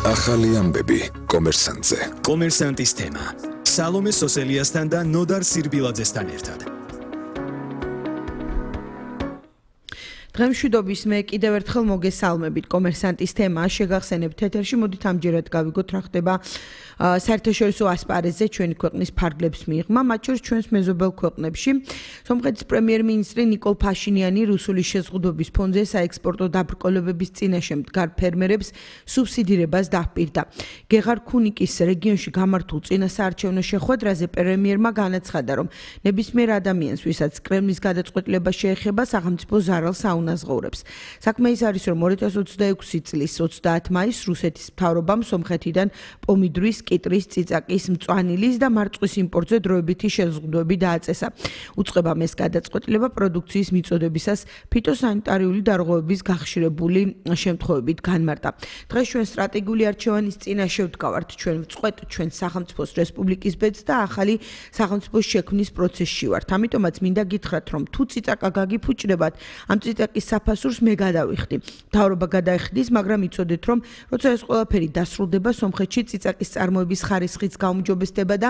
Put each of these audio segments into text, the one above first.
ახალი ამბები კომერსანტზე. კომერსანტის თემა. სალომე სოსელიასთან და ნოდარ სირბილაძესთან ერთად. დღემშვიდობის მე კიდევ ერთხელ მოგესალმებით კომერსანტის თემა შეგახსენებთ ეთერში მოდით ამჯერად გავიგოთ რა ხდება საერთაშორისო ასპარეზზე ჩვენი ქვეყნის ფარგლებს მიღმა მათ შორის ჩვენს მეზობელ ქვეყნებში სომხეთის პრემიერ-მინისტრი ნიკოლ ფაშინიანი რუსული შეზღუდვების ფონზე საექსპორტო დაბრკოლებების წინაშე მდგარ ფერმერებს სუბსიდირებას დაჰპირდა გეღარ ქუნიკის რეგიონში გამართულ წინასაარჩევნო შეხვედრაზე პრემიერმა განაცხადა რომ ნებისმიერ ადამიანს ვისაც კრემლის გადაწყვეტილება შეეხება სახელმწიფო ზარალს უნაზღაურებს. საქმე ის არის, რომ 2026 წლის 30 მაისს რუსეთის მთავრობამ სომხეთიდან პომიდრის, კიტრის, წიწაკის, მწვანილის და მარწყვის იმპორტზე დროებითი შეზღუდვები დააწესა. უწყებამ ეს გადაწყვეტილება პროდუქციის მიწოდებისას ფიტოსანიტარიული დარღვევების გახშირებული შემთხვევებით განმარტა. დღეს ჩვენ სტრატეგიული არჩევანის წინაშე ვდგავართ, ჩვენ ვწყვეტ ჩვენ სახელმწიფოს რესპუბლიკის ბედს და ახალი სახელმწიფოს შექმნის პროცესში ვართ. ამიტომაც მინდა გითხრათ, რომ თუ წიწაკა გაგიფუჭდებათ, ამ წიწაკის საფასურს მე გადავიხდი. მთავრობა გადაიხდის, მაგრამ იცოდეთ, რომ როცა ეს ყველაფერი დასრულდება, სომხეთში წიწაკის წარმოების ხარისხიც გაუმჯობესდება და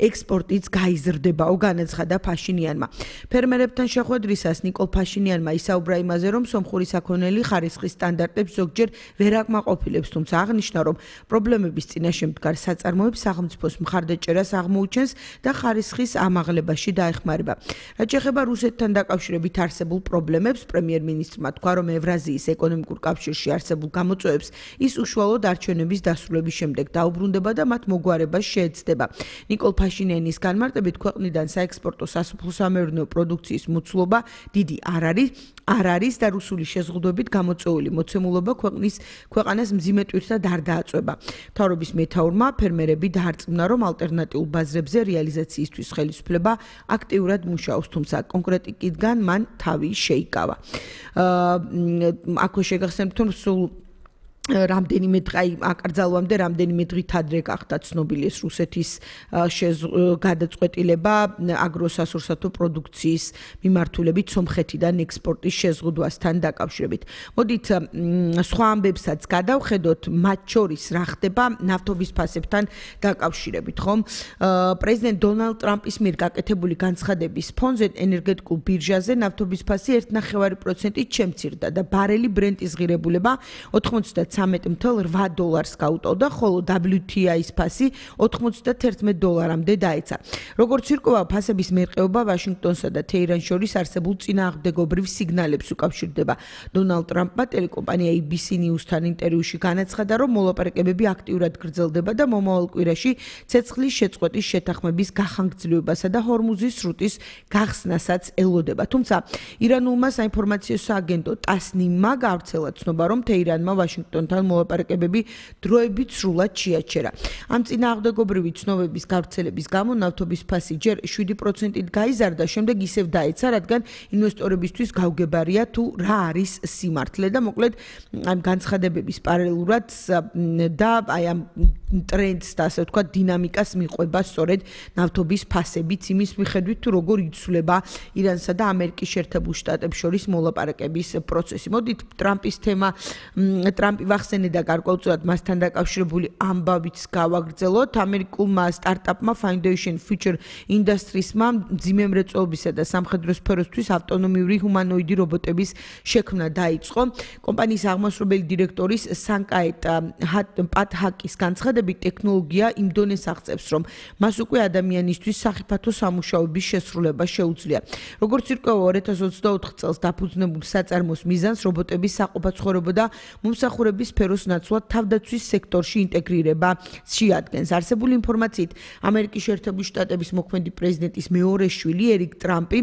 ექსპორტიც გაიზრდებაო, განაცხადა ფაშინიანმა. ფერმერებთან შეხვედრისას ნიკოლ ფაშინიანმა ისაუბრა იმაზე, რომ სომხური საქონელი ხარისხის სტანდარტებს ზოგჯერ ვერ აკმაყოფილებს, თუმცა აღნიშნა, რომ პრობლემების წინაშე მდგარ საწარმოებს სახელმწიფოს მხარდაჭერას აღმოუჩენს და ხარისხის ამაღლებაში დაეხმარება. რაც შეეხება რუსეთთან დაკავშირებით არსებულ პრობლემებს, პრემიერ-მინისტრმა თქვა, რომ ევრაზიის ეკონომიკურ კავშირში არსებულ გამოწვევებს ის უშუალოდ არჩევნების დასრულების შემდეგ დაუბრუნდება და მათ მოგვარებას შეეცდება. ნიკოლ ფაშინიანის განმარტებით ქვეყნიდან საექსპორტო სასოფლო-სამეურნეო პროდუქციის მოცულობა დიდი არ არის და რუსული შეზღუდვებით გამოწვეული მოცემულობა ქვეყანას მძიმე ტვირთად არ დააწვება. მთავრობის მეთაურმა ფერმერები დაარწმუნა, რომ ალტერნატიულ ბაზრებზე რეალიზაციისთვის ხელისუფლება აქტიურად მუშაობს, თუმცა კონკრეტიკიდან მან თავი შეიკავა. აქვე შეგახსენებთ, რომ სულ რამდენიმე აკრძალვამდე რამდენიმე დღით ადრე გახდა ცნობილი ეს რუსეთის გადაწყვეტილება აგროსასურსათო პროდუქციის მიმართულებით სომხეთიდან ექსპორტის შეზღუდვასთან დაკავშირებით. მოდით სხვა ამბებსაც გადავხედოთ, მათ შორის რა ხდება ნავთობის ფასებთან დაკავშირებით, ხომ? პრეზიდენტ დონალდ ტრამპის მიერ გაკეთებული განცხადების ფონზე ენერგეტიკულ ბირჟაზე ნავთობის ფასი 1.5%-ით შემცირდა და ბარელი ბრენტის ღირებულება $93.8 გაუტოვდა, ხოლო WTI-ის ფასი $91 დაეცა. როგორც ირკვევა, ფასების მერყეობა ვაშინგტონსა და თეირანს შორის არსებულ წინააღმდეგობრივ სიგნალებს უკავშირდება. დონალდ ტრამპმა ტელეკომპანია ABC News-თან ინტერვიუში განაცხადა, რომ მოლაპარაკებები აქტიურად გრძელდება და მომავალ კვირაში ცეცხლის შეწყვეტის შეთანხმების გახანგრძლივებასა და ჰორმუზის სრუტის გახსნასაც ელოდება. თუმცა ირანულმა საინფორმაციო სააგენტო ტასნიმმა გავრცელა ცნობა, რომ თეირანმა ვაშინგტონთან მოლაპარაკებები დროებით სრულად შეაჩერა. ამ წინააღმდეგობრივი ცნობების გავრცელების გამო ნავთობის ფასი ჯერ 7%-ით გაიზარდა, შემდეგ ისევ დაეცა, რადგან ინვესტორებისთვის გაუგებარია თუ რა არის სიმართლე და მოკლედ ამ განცხადებების პარალელურად და აი ამ ტრენდს და ასე ვთქვათ დინამიკას მიყვება სწორედ ნავთობის ფასებიც იმის მიხედვით თუ როგორ იცვლება ირანსა და ამერიკის შეერთებულ შტატებს შორის მოლაპარაკების პროცესი. მოდით ტრამპის თემა ტრამპი ვახსენე და გარკვეულწილად მასთან დაკავშირებული ამბავიც გავაგრძელოთ. ამერიკულმა სტარტაპმა Foundation Future Industries-მა მძიმე მრეწველობისა და სამხედრო სფეროსთვის ავტონომიური ჰუმანოიდი რობოტების შექმნა დაიწყო. კომპანიის აღმასრულებელი დირექტორის სანკაეტ პატჰაკის განცხადებით, ტექნოლოგია იმ დონეს აღწევს, რომ მას უკვე ადამიანისთვის სახიფათო სამუშაოების შესრულება შეუძლია. როგორც ირკვევა, 2024 წელს დაფუძნებულ საწარმოს მიზანს რობოტების საყოფაცხოვრებო და მომსახურების სფეროს ნაცვლად თავდაცვის სექტორში ინტეგრირება შეადგენს. არსებული ინფორმაციით, ამერიკის შეერთებული შტატების მოქმედი პრეზიდენტის მეორე შვილი ერიკ ტრამპი